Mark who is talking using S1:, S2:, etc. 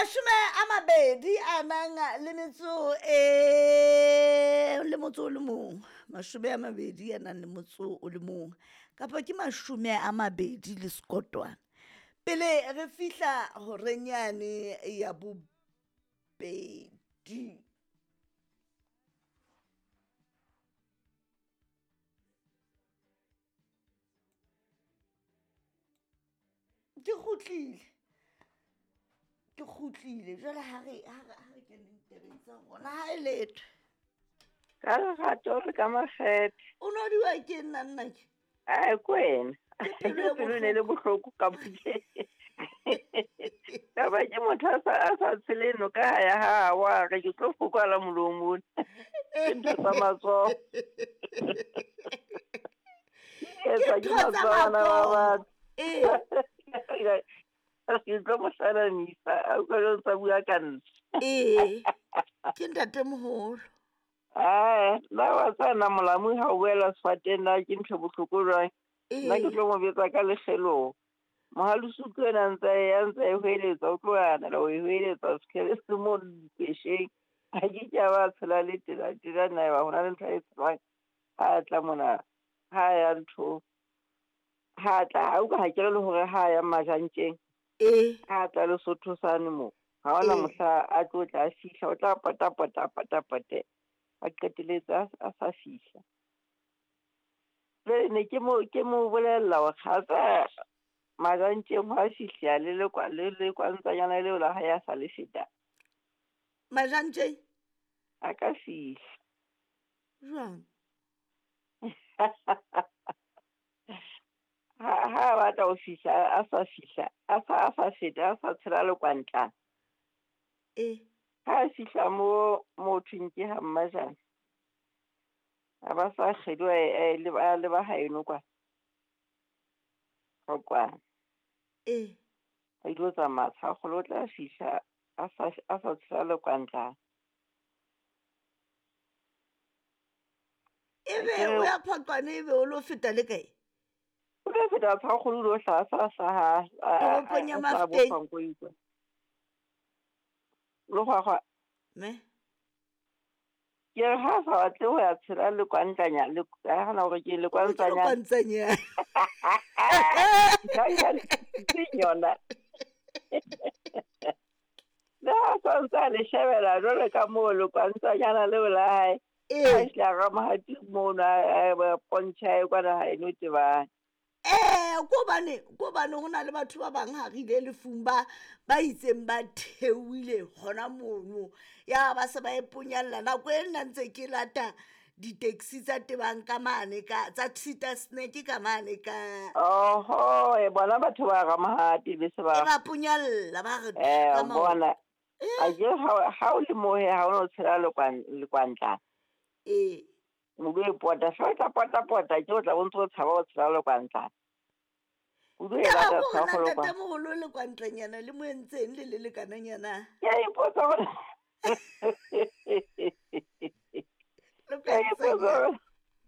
S1: 20 a nang le metso e le motso o le mong, 20 a nang le motso o le mong, kapa ke 20 le sekotwana pele re fihla horeng yane ya bobedi. Ke kgutlile, ke kgutlile jwale. Ha re keneng tabeng tsa rona, ha e letho.
S2: Ka lerato re ka makgethe.
S1: O no diwa ke nna nna ke.
S2: Ai, ko wena.
S1: Ke pelo e
S2: Pelo ne le bohloko ka boke. Taba ke motho a sa tshele noka ha ya ha wa re ke tlo fokola molomong. Ke ntho tsa matsoho.
S1: Ke
S2: Etswa ke
S1: ntho tsa
S2: matsoho bana ba
S1: matsoho.
S2: batho.
S1: Ee.
S2: Ke tlo mo hlalanisa, a utlwa jwale o ntsa bua ka nna.
S1: Ee, ke ntatemoholo.
S2: Ae, nna wa tseba nna molamu ha o boela sefateng na ke ntho e bohloko jwang. Nna ke
S1: Ee.
S2: tlo mo betsa ka lekgeloho. Mohalusuthu ena a ntse a ya ntse a e hweletsa, o tlo anela ho e hweletsa sekhele se mo dipesheng. A ke ke a ba tshela le tena tena nna eba hona le ntho a e tsebang. Ha a tla mona, ha ya ntho. Ha tla, ha utlwa ha ke re le hore ha ya Majantjeng.
S1: Ee.
S2: Ha tla Lesotho sane mo. Ha hona
S1: Ee.
S2: mohla a tlo tla a fihla, o tla pota pota pota pote. A qetelletse a sa fihla. Jwale ne ke mo bolella hore ha tsa Majantjeng hwa fihla le lekwa le lekwantsanyana leo la hae a sa le feta.
S1: Majantjeng?
S2: A ka fihla.
S1: Jwang?
S2: Ha a batla ho fihla, a sa fihla, a sa feta, a sa tshela lekwantla.
S1: Ee.
S2: Ha a fihla mo thweng ke ha Mmajana. A ba sa kgeduwa a leba haeno kwa. Qwaqwa.
S1: Ee.
S2: A ilo tsamaya Tshakgolo, o tla fihla a sa tshela lekwantla.
S1: Ebe o ya Phaqwane, ebe o lo feta le kae?
S2: O tla feta Tshakgolo, o lo hlaha sa hlaha
S1: Toropong ya
S2: a sa
S1: Mafikeng.
S2: bofa nko utlwa. Lekgwakgwa.
S1: Me?
S2: Ke re ha a sa batle ho ya tshela lekwantlanya, le, ha hana hore ke lekwantsanya.
S1: Lekwantsanya.
S2: Ke yona. Le ha sa ntse a le shebela jwalo ka moo lekwantsanyana leo la hae.
S1: Ee.
S2: Ha hle a Ramahati mono, a pontjha e kwana ha eno tebang.
S1: Ee, ko bane ho na le batho ba bang ha re ile lefung ba itseng ba theohile hona mono. Ya ba se ba e ponyalla. Nako e nna ntse ke lata di-taxi tsa tebang ka mane ka tsa Tita Snack ka mane ka.
S2: Oho, e bona batho ba Ramahati be se ba
S1: E ba ponyalla ba re
S2: Eh,
S1: ka maoto.
S2: bona. A ke ha o le mohe ha o no tshela lekwantla.
S1: Ee.
S2: O lo e pota, hle o tla pota pota, ke o tla bo ntso o tshaba ho tshela lekwantla. O lo e
S1: Taba
S2: lata
S1: ko hore na
S2: tshaba lekwantla.
S1: ntatemoholo lekwantlanyana le mo entseng le le lekananyana?
S2: Ke a ipotsa hore Ke a ipotsa hore